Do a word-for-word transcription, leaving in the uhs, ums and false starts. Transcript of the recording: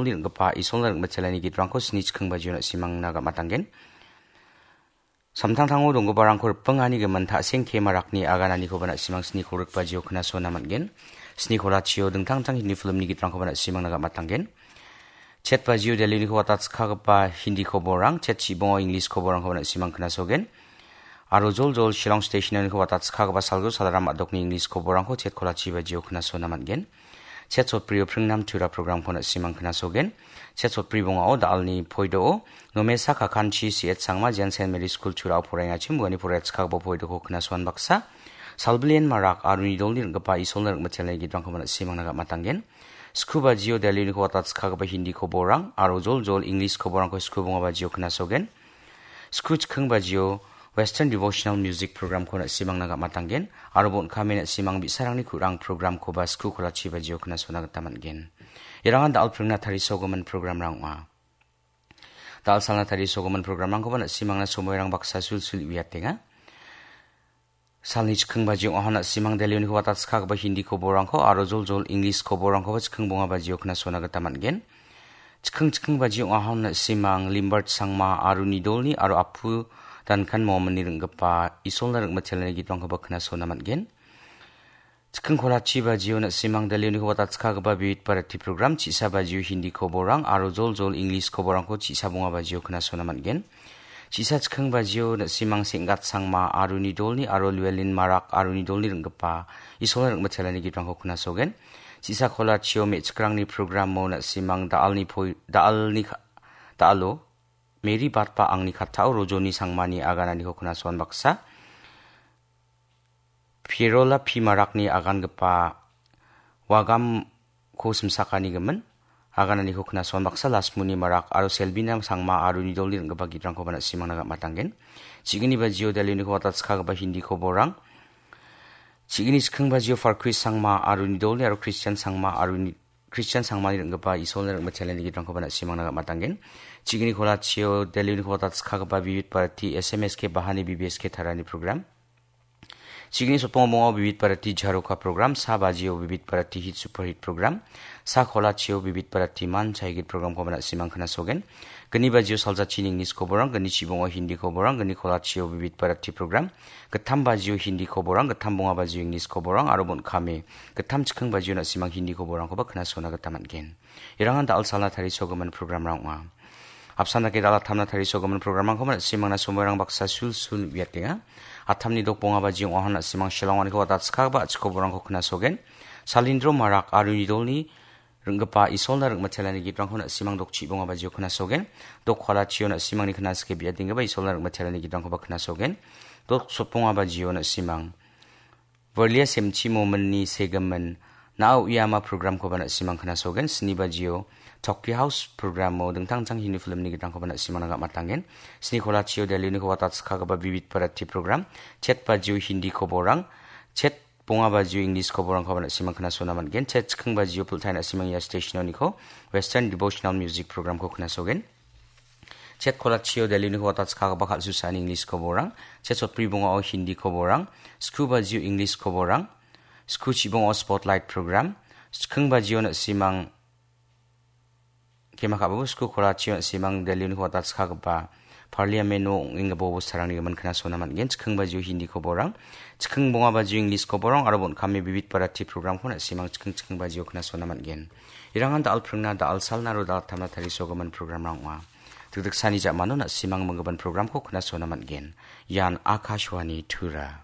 ringgipa Isolna ringmitelani gitrangko sni chikking bajio na·simangna gam·atanggen. Samtangtango donggiparangko ripengani gimin ta·sengke marakni agananikoba na·simang sni kolgrik bajio knasona man·gen. Sni kolachio dingtang dingtang Hindi filmni gitrangkoba na·simangna gam·atanggen. Chet bajio Delhini kowata chikkagipa Hindi koborang, chet chibongo English koborangkoba na·simang knasogen. Aro joljol Shillong Stationani kowata chikkagipa salgio salaram a·dokni English koborangko chet kolachi bajio knasona man·gen. Chet sotbrio pringnam tura programko na·simang knasogen. Chet sotbri bongao da·alni poido-o Nomesa Kakanchi C H Sangma Jen Saint Mary School Turao poraiengachim uani poraia chikkagipa poidoko knasoan baksa. Salbilien Marak aro nidolni ringgipa Isolna ringmitelani gitrangkoba na·simangna gam·atanggen. Sku bajio Delhini kowata chikkagipa Hindi koborang aro joljol English koborangko sku bonga bajio knasogen. Sku chikking bajio Western Devotional Music Programko na·simangna gam·atanggen aro bon·kame na·simang bi·sarangni ku·rang programkoba sku kolachi bajio knasona gita man·gen. Irangan da·al pringna tarisogimin programrang ong·a. Da·al salna tarisogimin programrangkoba na·simangna somoirang baksa sulsul uiatenga. Salni chikking bajio ong·aha na·simang Delhini kowata chikkagipa Hindi koborangko aro joljol English koborangkoba chikking bonga bajio knasona gita man·gen. Chikking chikking bajio ong·aha na·simang Limbert Sangma aro nidolni aro Apu Dankan Mominni ringgipa Isolna ringmitelani gitrangkoba knasona man·gen. Chikking kolachi bajio na·simang Delhini kowata chikkagipa Vividh Bharati program, chisa bajio Hindi koborang aro joljol English koborangko chisa bonga bajio knasona man·gen. Chisa chikking bajio na·simang Senggat Sangma aro nidolni aro Llewellyn Marak aro nidolni ringgipa Isolna ringmitelani gitrangko knasogen. Chisa kolachio me·chikrangni programo na·simang da·alni poi-, da·alni ka-, da·alo Mary Batba Angni Kattao Rojoni Sangmani agananiko knasoan baksa. Pierola P Marakni agangipa Wagamko simsakanigimin agananiko knasoan baksa Lasmuni Marak aro Selbina Sangma aro nidolni ringgipa gitrangkoba na·simangna gam·atanggen. Chigini bajio Delhini kowata chikkagipa Hindi koborang. Chigini chikking bajio Farkris Sangma aro nidolni aro Christian Sangma aro ni-, Christian Sangmani ringgipa Isolna ringmitelani gitrangkoba na·simangna gam·atanggen. Chigini kolachio Delhini kowata chikkagipa Vividh Bharati S M S K Bahani B B S K Tarani program. Chigini sotbongo bongo Vividh Bharati Jharoka program, sa bajio Vividh Bharati Hit Super Hit program, sa kolachio Vividh Bharati Man Chai Git programkoba na·simang knasogen. Gni bajio saljachini English koborang, gni chibongo Hindi koborang, gni kolachio Vividh Bharati program, gittam bajio Hindi koborang, gittam bonga bajio English koborang, aro bon·kame gittam chikking bajio na·simang Hindi koborangkoba knasona gita man·gen. Irangan da·al salna tarisogimin programrang ong·a. Apsan dake da·al attamna tarisogimin programrangkoba na·simangna somoirang baksa sulsul uiatenga. Attamni dok bonga bajio ong·aha na·simang Shillong-aniko wata chikkagipa a·chik koborangko knasogen. Salindro Marak aro nidolni ringgipa Isolna ringmitelani gitrangko na·simang dok chibonga bajio knasogen. Dok kolachio na·simangni knasike biadenggipa Isolna ringmitelani gitrangkoba knasogen. Dok sotbonga bajio na·simang Varlia Semchi Mominni segimin Na·a Uiama programkoba na·simang knasogen. Sni bajio Tokyo House programo dingtang dingtang Hindi filmni gitrangkoba na·simangna gam·atanggen. Sni kolachio Delhini kowata chikkagipa Vividh Bharati program, chet bajio Hindi koborang, chet bonga bajio English koborangkoba na·simang knasona man·gen. Chet chikking bajio pultai na·simang ia stationoniko Western Devotional Music programko knasogen. Chet kolachio Delhini kowata chikkagipa kal·susani English koborang, chet sotbri bongao Hindi koborang, sku bajio English koborang, sku chibongo Spotlight program, chikking bajio na·simang kema ka·babo sku kolachio na·simang Delhini kowata chikkagipa Parliament-o ong·enggipa bosturangni gimin knasona man·gen. Chikking bajio Hindi koborang, chikking bonga bajio English koborang aro bon·kame Vividh Bharati programko na·simang chikking chikking bajio knasona man·gen. Irangan da·al pringna, da·al salna aro da·al attamna tarisogimin programrang ong·a. Dikdiksani ja·mano na·simang minggimin programko knasona man·gen. Ian Akashvani Tura.